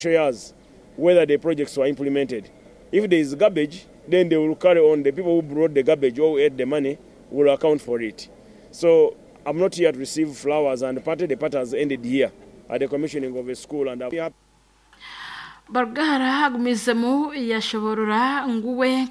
Years whether the projects were implemented. If there is garbage, then they will carry on. The people who brought the garbage or who ate the money will account for it. So I'm not here to receive flowers and party. The party has ended here at the commissioning of a school and I'm happy. Barugahara agumizemu yashoborora ngu we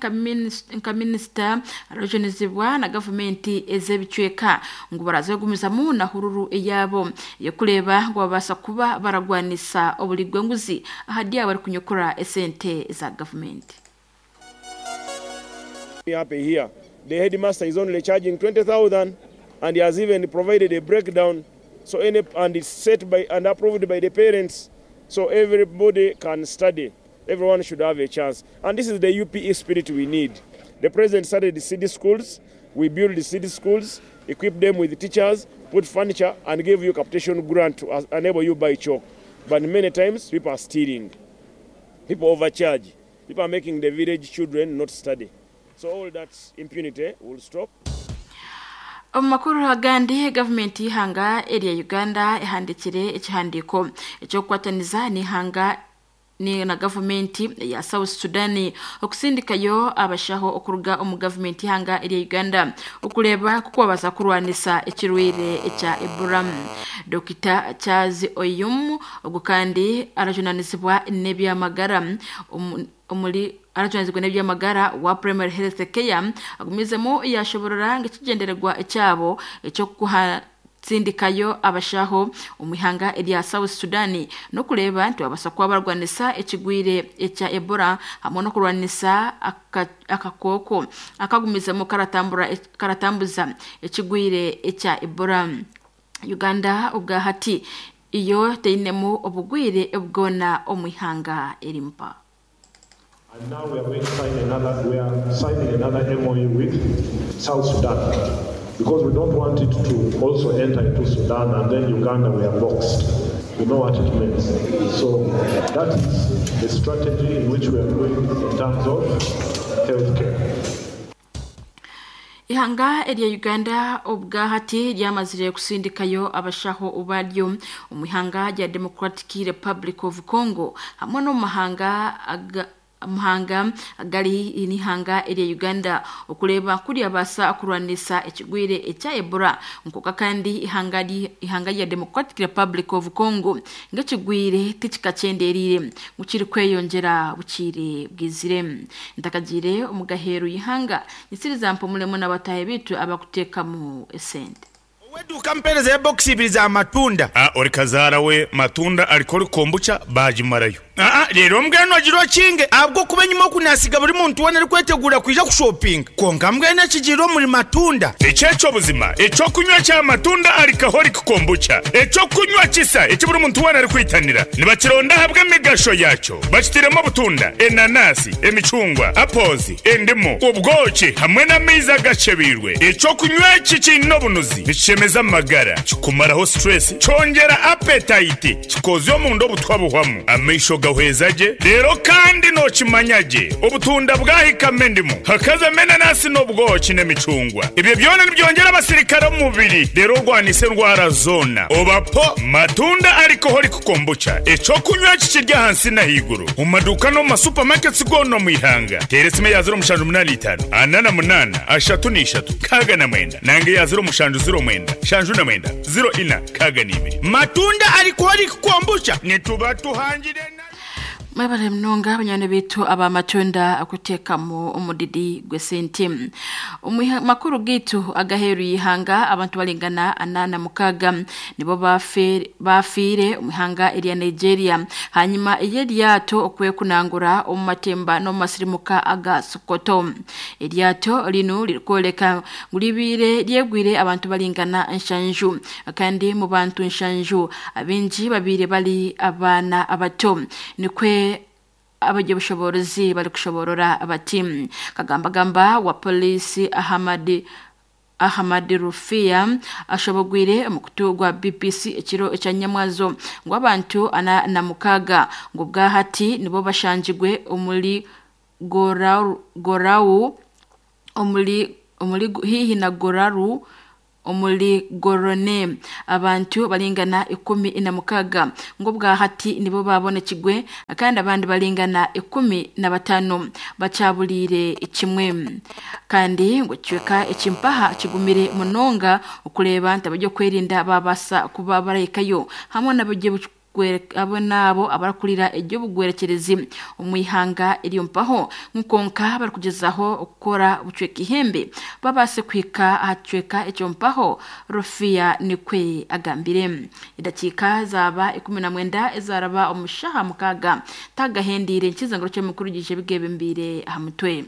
nka minisita arajunizibwa na gavumenti ez'ebicweka ngu baraza kugumizamu na hururu eyabo ey'okureeba ngu babaasa kuba baragwanisa oburi bw'enguzi ahari abo barikunyukura esente za gavumenti. Happy here. The headmaster is only charging 20,000 and he has even provided a breakdown so any and it's set by and approved by the parents so everybody can study. Everyone should have a chance. And this is the UPE spirit we need. The president started the city schools. We build the city schools, equip them with teachers, put furniture, and give you capitation grant to enable you buy chalk. But many times, people are stealing. People overcharge. People are making the village children not study. So all that impunity will stop. Omu makuru agandi, gavumenti y'ihanga erya Uganda ehandikire ekihandiiko eky'okukwataniza n'ihanga ni na gavumenti ya South Sudan okusindikayo abashaho okuruga omu gavumenti y'ihanga erya Uganda okureeba ku kubabaasa kurwanisa ekirwaire ekya Ebola. Dokita Charles Oyum ogu kandi arajunanizibwa n'ebyamagara omuri arajunanizibwa n'ebyamagara wa Primary Health Care agumizemu yashoborora ngu ekigyendererwa ekyabo ekyokuha tsindikayo abashaho omu ihanga erya South Sudan n'okureeba nti babaasa kuba barwanisa ekigwire ekya Ebola hamwe n'okurwanisa akakooko akagumizemu karatambuza ekigwire ekya Ebola. Uganda obwahati iyo teinemu obugwire bwona omu ihanga erimpa. And now we are going to sign another, we are signing another MOU with South Sudan, because we don't want it to also enter into Sudan and then Uganda we are boxed. We know what it means. So that is the strategy in which we are going in terms of healthcare. Ihanga erya Uganda obwahati ryamazire kusindikayo abashaho baryo omu ihanga rya Democratic Republic of Congo hamwe n'omu mahanga muhanga gari n'ihanga erya Uganda okureba kuri abasa kurwanisa ekigwire ekya Ebola nkoka kandi ihanga rya Democratic Republic of Congo ngekigwire tikikachenderire mukiri kweyongera bukire bwizire ntakagire omugaheru ihanga nisiriza mpumulemo n'abatahe bitu abakutekamu esente. Weduka mpereza ya box ibiri za matunda. Ori kazara we matunda alikori kombucha bajimarayo. Rero mbwenu agiro kinge abwo kuba nyuma kunasiga buri muntu wona ari kwetegura kuja kushopping. Konka mbwenu akigiro muri matunda. Echecho buzima, echo kunywa cha matunda alikahori kombucha. Echo kunywa kisa eki buri muntu wona ari kwitanira. Nibakironda habwe emigasho yacho. Bakitiremo butunda, enanasi, emicungwa, apozi, endimu, ubwoki hamwe n'amaizi agacebirwe. Echo kunywa iki kino bunuzi. Nikishemeza amagara, kikumaraho stress, cyongera appetite, kikoza omundu obutwa buhwamu. Amaisho gahwezaje rero kandi nokimanyage obutunda bwahikame endimu hakaza menanasi n'obwoki n'emicungwa. Ibyo byona nibyongera abasirikare mu mubiri rero urwanise ndwara zona. Obapo matunda alcoholic kombucha eco kunywa kikirya hansi na higuru mu maduka no mu masupermarkets gono mu ihanga. Teresime ya 085 48 33 69 nange ya 07 09 79 04 62. Matunda alcoholic kombucha nituba tuhangire. Mwebale mnonga abanyane bitu abamatunda akuteekamu omudidi gw'esente. Makuru gitu agaheru yihanga abantu balingana 46 nibo bafiire omuhanga erya Nigeria hanyuma ey'eryato okwekunangura omu matemba n'omu masirimuka aga Sokoto. Eryato lino lirikwoleka ngu libiire lyegwire abantu balingana 7 kandi mu bantu 7 abingi babiire bali abaana abato nikwe abagyobushobozi bari kushoborora bati kagambagamba wa polisi Ahmad Rufia ashobogwire omukutu gwa BBC ekiro ekya Nyamwazo ngu abantu 46 ngu bwahati nibo bashanjigwe omuri Gorau omuri hihi na Goraru Omuri Gorone abantu baringana 16 ngo bwahati nibo babonekigwe kandi abandi baringana 15 bacabulire kimwe kandi ngo cweka ekimpaha kigumire munonga okureba ntabyo kwerinda babasa kuba barayikayo hamwe nabyo abo nabo abarakurira eby'obugwerekerezi omu ihanga eryo mpaho nkonka barikugezaho okukora bucweka ihembe babase kuhika aha kicweka ekyo mpaho Rofia nikwe agambire. Edakiika zaba 19 ezaraba omu shaha 6 tagahendiire nkizangiro ky'emikuru gije bigebembiire aha mutwe.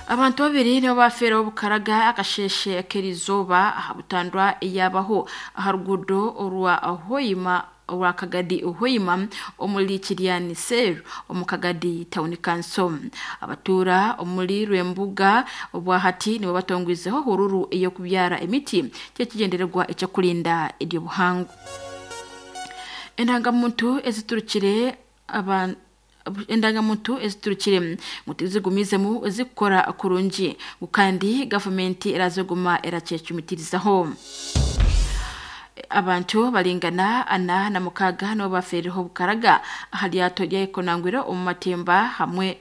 Abantu babiri nibo bafeeraho bukaraga akasheshe k'erizooba aha butandwa eyabaho aha ruguudo orwa Hoima orwa Kagadi Hoima omuri Kiryani Cell omu Kagadi Town Council. Abatuura omuri Rwembuga obwahati nibo batongwizeho hururu ey'okubyara emiti ky'ekigendererwa ekyokurinda eryobuhango. Endangamuntu eziturukire abantu endangamuntu eziturukire ngu tizigumizemu zikukora kurungi kandi gavumenti eraziguma erakyecumitiirizaho. Abantu baringana 46 nibo bafeereho bukaraga aha ryato rya Ekonangwire omu matemba hamwe